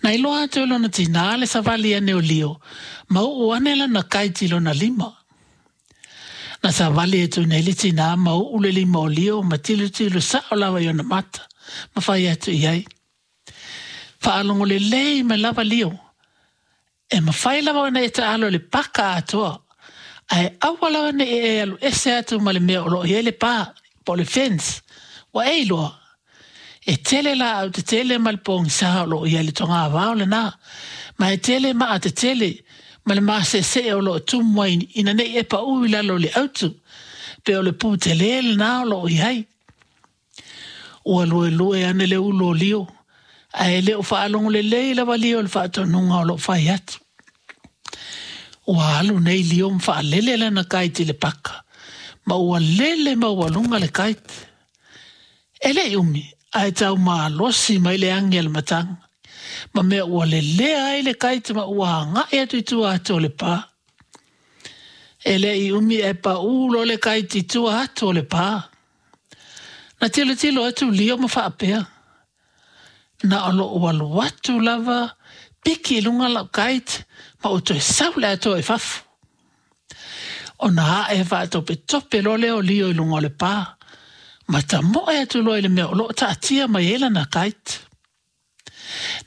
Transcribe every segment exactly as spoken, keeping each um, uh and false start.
Na iloa atu e lona tinā le savali ane o Lio ma uu ane lana kite i lona lima. Na savali atu nei le tinā ma uu le lima o Lio ma tilotilo sao lava i ona mata ma fai atu i ai. Faalogo lelei mai lava Lio. E mafai lava ona e taalo i le paka atoa, ae aua lava ne i e alu ese atu ma le mea o lo o i ai le pa, po o le fence, ua e iloa. E tele laau tetele ma le pogisa o lo o i ai i le togavao lena, ma e tele maa tetele ma le maseesee o lo o tumu ai ina ne i e pau i lalo o le autu, pe o le pu tele lena o lo o i ai. Ua luelue ane le ulu o Lio, ae le o faalogo lelei lava Lio i le faatonuga o lo o fai atu. Ua alu nei Lio ma faalele lana kite i le paka, ma ua lele maualuga le kite. E le i umi, ae tau malosi mai le agi a le matagi, ma mea ua lelea ai le kite ma ua agai atu i tua atu o le pa. E le i umi ae paū loa le kite i tua atu o le pa. Na tilotilo atu Lio ma faapea, Na o lou alu atu lava, piki i luga lau kite ma ou toe sau le atoa i fafo. Ona ae faatopetope loa lea o Lio i luga o le pa, ma tamoe atu loa i le mea o lo o taatia mai ai lana kite.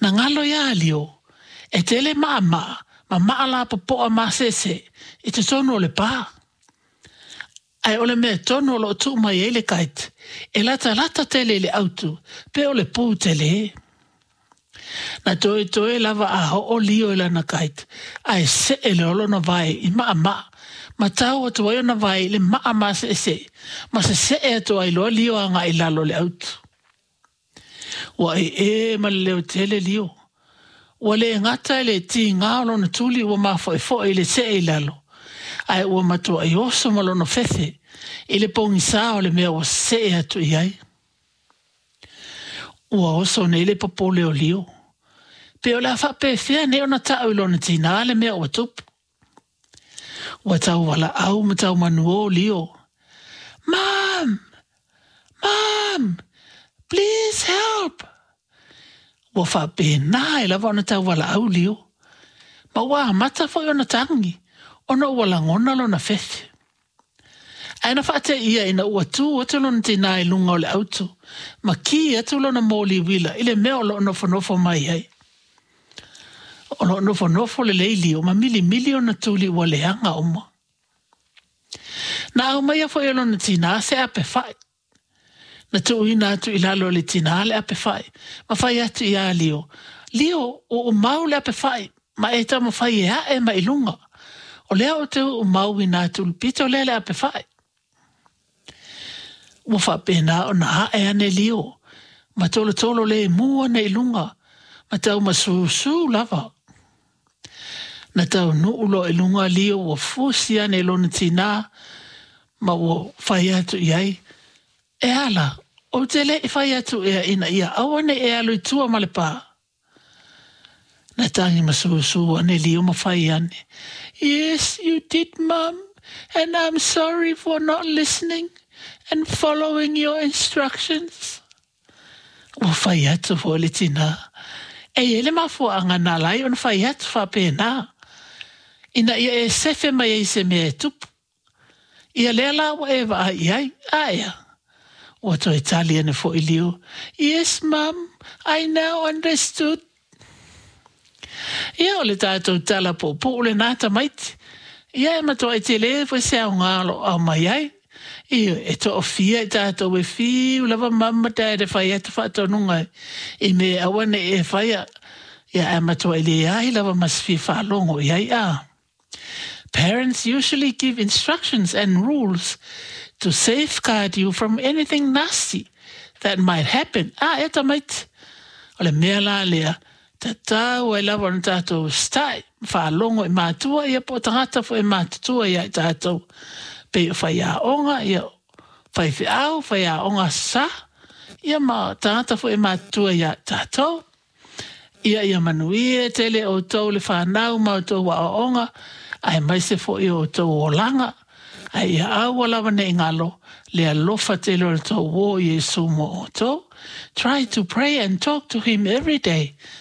Na galo ia Lio, e tele maamaa ma maa lapopoa maseese i totonu o le pa. Ae o le mea tonu o lo o tuu mai ai le kite, e latalata tele i le autu, pe o le pu tele. Na toetoe lava a oo Lio i lana kite, ae see loa lona vae i maamaa, ma tau atu ai ona vae i le maa maseese, ma sesee atu ai loa Lio agai i lalo o le autu. Ua ē ma le leo tele Lio. Ua le gata i le tiga o lona tuli ua mafoefoe i le see i lalo, ae ua matuai oso ma lona fefe i le pogisa o le mea ua see atu i ai. Ua oso nei le popole o Lio. Pe o le a faapefea nei ona tau i lona tinā le mea ua tupu. Ua tau valaau ma tau manuō Lio. Mom! Mom! Please help! Ua faapena ai lava ona tau valaau Lio. Ma ua amata foi ona tagi, ona ua lagona lona fefe. Ae na faateia ina ua tu atu lona tinā i luga o le autu, ma ki atu lona moli uila i le mea o lo o nofonofo mai ai. O lo o nofonofo lelei Lio ma milimili ona tuli ua leaga uma. Na aumaia foi e lona tinā se ape fai. Na tuuina atu i lalo e le tinā le ape fai, ma fai atu iā Lio, Lio, ua mau le ape fai, ma e taumafai e ae mai i luga. O lea ou te uumauina atu i le pito lea le ape fai. Ua faapena ona ae ane Lio, ma tolotolo lemu ane i luga, ma tau masusū lava. Na taunuu loa i luga Lio ua fusi ane i lona tinā, ma ua fai atu i ai, E ala, ou te le i fai atu ea ina ia aua ne i e alu i tua ma le pa. Na tagi masusū ane Lio ma fai ane, Yes, you did, Mum, and I'm sorry for not listening and following your instructions. Ua fai atu foi le tinā, E i ai le mafuaaga na ala ai ona fai atu faapena, ina ia e sefe mai ai i se mea e tupu. Ia lea la ua e vaai i ai, a ea? Ua toe tali ane foi Lio, Yes, Mum, I now understood. Ia, o le tatou tala puupuu lenā tamaiti. Ia, e matuai tele foi se aoga o lo o aumai ai. Ioe, e toafia i tatou e fiu lava mum ma dad e fai atu faatonuga i mea e aua ne i e faia, ia ae matuai leai lava ma se fia faalogo i ai, a. Parents usually give instructions and rules to safeguard you from anything nasty that might happen. A e tamaiti, o le mea la lea, tatau ai lava ona tatou usitai ma faalogo i matua ia po o tagata foi e matutua ia i tatou, pei o faiaoga, ia faifeau, faiaoga Aso Sa, ia ma tagata foi e matutua ia i tatou. Ia ia manuia tele outou le fanau ma outou aoaoga, aemaise foi o outou olaga, ae ia aua lava ne i galo le alofa tele o le tou uō Iesu mo outou. Try to pray and talk to him every day.